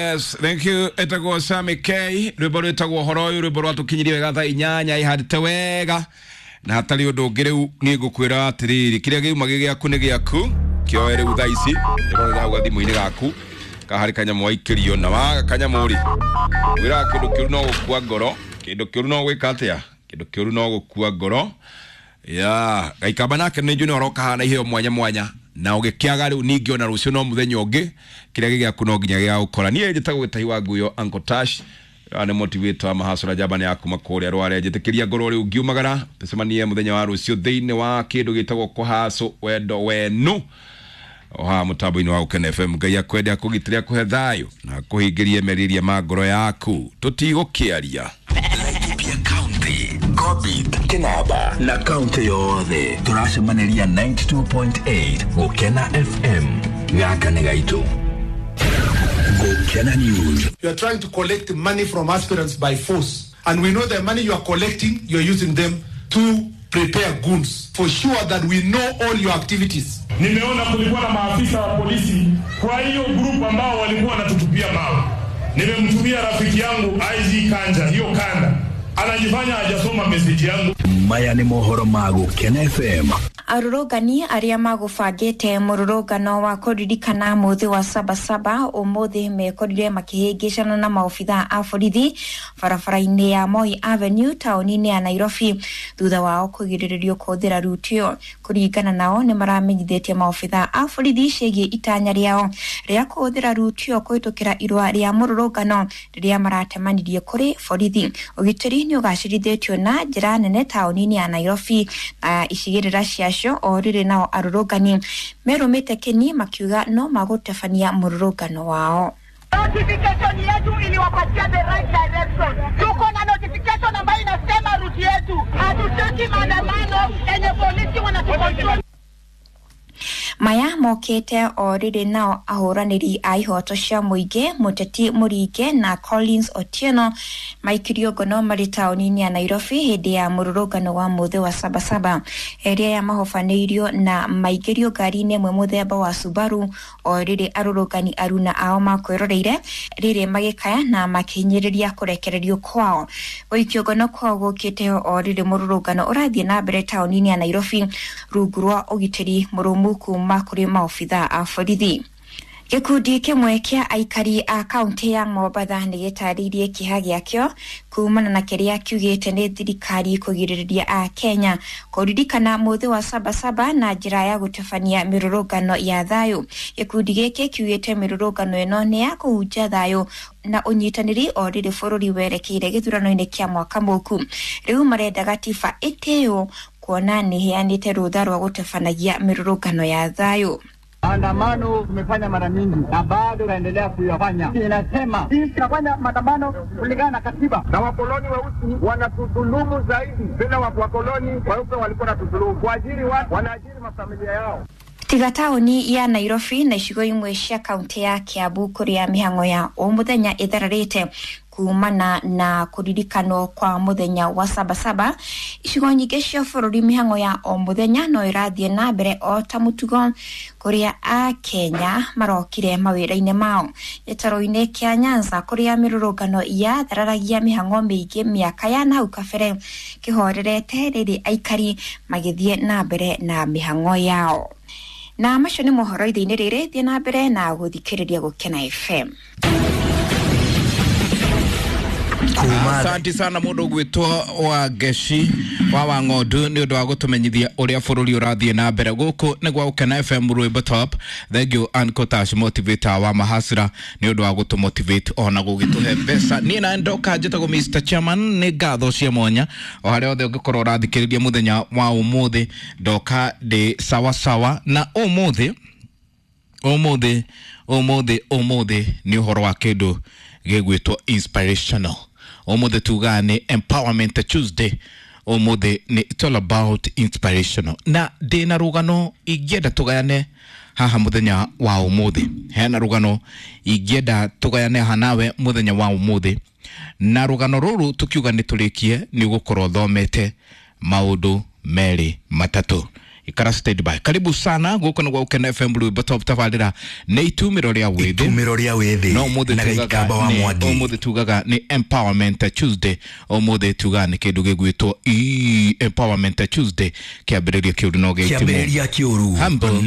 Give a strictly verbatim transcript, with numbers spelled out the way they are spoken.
Yes, thank you. Etagwo Sami K, rwimbo rwitagwo horo uyu, rwimbo rwatukinyirie wega thaa inyanya ihandite wega na hatari undu ungi. Riu ni ngukwira atiriri, kiria giuma gi giaku ni giaku, kioe riu thaa ici ndĩrorera hau gathimu-inĩ gaku kahari kanyamũ waikĩrio na waga kanyamũ rĩ, wĩraga kĩndũ kĩũru no gũkua ngoro, kĩndũ kĩũru no gwĩka atĩa, kĩndũ kĩũru no gũkua ngoro ya gaikamba nake nĩ njũĩ nĩ aroka haha na iheo mwanya mwanya na ũgĩkĩaga rĩu ningĩ ona rũciũ no mũthenya ũngĩ kĩrĩa gĩgĩaku no nginya gĩgagũkora. Niĩ njĩtagwo Gĩtahi wa Nguyo, Uncle Tash nĩ motivator wa mahasura njamba nĩ ya kuma kũrĩa Rware. Njĩtĩkĩria ngorwo rĩu ngiumagara, tũcemanie mũthenya wa rũciũ thĩinĩ wa kĩndũ gĩtagwo kũhacũ wendo wenu o haha mũtambo-inĩ wa Gũkena F M. Ngai akwende, akũgitĩre, akũhe thayũ na akũhingĩrie merirĩria ma ngoro yaku. Tũtigũkĩaria. Laikipia County, Gobit, Kinaba na kaunti yothe tũracemaniria ninety-two point eight Gũkena F M. Gaka nĩ gaitũ. Gũkena News. You are trying to collect money from aspirants by force, and we know the money you are collecting, you are using them to prepare goons. For sure that we know all your activities. Nimeona kulikuwa na maafisa wa polisi kwa hiyo group ambao walikuwa wanatutupia mawe. Nimemtumia rafiki yangu I G Kanja hiyo kanda, anajifanya hajasoma message yangu. Maya ni mohoro ma Gũkena F M. Arũrũngani arĩa magũbangĩte mũrũrũngano wa kũririkana mũthĩ wa Sabasaba ũmũthĩ mekorire makĩhĩngĩcana na maobithaa a borithi barabara-inĩ ya Moi Avenue taũni-inĩ ya Nairobi thutha wao kũgirĩrĩrio kũhũthĩra ruti ĩyo. Kũringana nao nĩ maramenyithĩtie maobithaa a borithi ciĩgiĩ itanya rĩao rĩa kũhũthĩra ruti ĩyo kũhĩtũkĩra irũa rĩa mũrũrũngano rĩrĩa maratemanirie kũrĩ borithi. Ũgitĩri nĩ ũgacĩrithĩtio na njĩra nene taũni-inĩ ya Nairobi na icigĩrĩra cia o rĩrĩ nao arũrũngani merũmĩte kĩni makiuga no magũtabania mũrũrũngano wao. Notification yetu iliwapatia the right direction. Tuko na notification ambayo inasema ruti yetu. Hatutaki maandamano yenye polisi wanatucontrol. Maya mokete o rĩrĩ nao ahũranĩri a ihoto cia mũingĩ Mũteti Mũringe na Collins Otieno maikirio ngono marĩ taũni-inĩ ya Nairobi hĩndĩ ya mũrũrũngano wa mũthĩ wa Sabasaba. Erĩ aya mahobanĩirio na maingĩrio ngari-inĩ ĩmwe mũthemba wa Subaru o rĩrĩ arũrũngani aruna ao makwĩroreire rĩrĩ magĩkaya na makĩhinyĩrĩria kũrekererio kwao. Gũikio ngono kwao gũkĩte o rĩrĩ mũrũrũngano ũrathiĩ na mbere taũni-inĩ ya Nairobi rungu rwa ũgitĩri mũrũmu kuma kũrĩ maobithaa a borithi. Gĩkundi kĩmwe kĩa aikari a kaunti ya Mombatha nĩ gĩtarĩirie kĩeha gĩakĩo kumana na kĩrĩa kiugĩte nĩ thirikari kũgirĩrĩria a Kenya kũririkana mũthĩ wa Sabasaba na njĩra ya gũtabania mĩrũrũngano ya thayũ. Gĩkundi gĩkĩ kiugĩte mĩrũrũngano ĩno nĩ ya kũhunjia thayũ na ũnyitanĩri o rĩrĩ bũrũri werekeire gĩthurano-inĩ kĩa mwaka mũku. Rĩu marenda gatiba ĩtĩo kuona nĩ ĩheanĩte rũtha rwa gũtabanagia mĩrũrũngano ya thayũ. Maandamano tumefanya mara mingi na bado tunaendelea kuyafanya. Inasema sisi tunafanya maandamano kulingana na katiba. Na wakoloni weusi wanatudhulumu zaidi. Bila wakoloni weupe walikuwa wanatudhulumu. Kuajiri watu, wanaajiri mafamilia yao. Tiga taũni ya Nairobi na icigo imwe cia kaunti ya Kiambu kũrĩa mĩhang'o ya o mũthenya ĩthararĩte kumana na kũririkanwo kwa mũthenya wa Sabasaba, icigo nyingĩ cia bũrũri mĩhang'o ya o mũthenya no ĩrathiĩ na mbere o ta mũtugo kũrĩa Akenya marokire mawĩra-inĩ mao. Gĩtarũ-inĩ kĩa Nyanza kũrĩa mĩrũrũngano yathararagia mĩhang'o mĩingĩ mĩaka ya nahau kabere kĩhorerete rĩrĩ aikari magĩthiĩ na mbere na mĩhang'o yao. Na macio nĩ mohoro ithe-inĩ rĩrĩ, thiĩ na mbere na gũthikĩrĩria Gũkena F M. Asante sana mundu gwitwo wa Ngeci wa Wang'ondu ni undu wa gutumenyithia uria bururi urathie na mbere guku ni gwa Gũkena F M Rwimbo Top. Thank you Uncle Tash motivator wa mahasira ni undu wa gutumotivate ona gugituhe mbeca. Ni na ndoka njitagwo Mister Chairman, ni ngatho cia mwanya o haria othe ungikorwo urathikiriria muthenya wa umuthi. Ndoka ndi sawa sawa na umuthi umuthi umuthi umuthi ni uhoro wa kindu gigwitwo inspirational. Umuthi tugaga ni Empowerment Tuesday. Umuthi ni it's all about inspirational. Na ndina rugano ingĩenda tugayane haha muthenya wa umuthi. Hena rugano ingĩenda tugayane haha nawe muthenya wa umuthi. Na rugano ruru tukiuga ni turikie ni ugukorwo thomete maundu meri matatu. Ikara stand by. Karibu sana guku nĩ gwa Gũkena F M Rwĩmbo Top tabarĩra nĩ itumĩro rĩa wĩthĩ. Itumĩro rĩa wĩthĩ no ũmũthĩ na tugaga Gĩikamba wa nĩ- Mwangi. ũmũthĩ tugaga nĩ Empowerment Tuesday. Ũmũthĩ tugaga nĩ kĩndũ gĩgwĩtwo E empowerment Tuesday. Kĩambĩrĩria kĩũru no gĩitimũ. Kĩambĩrĩria kĩũru Humble. no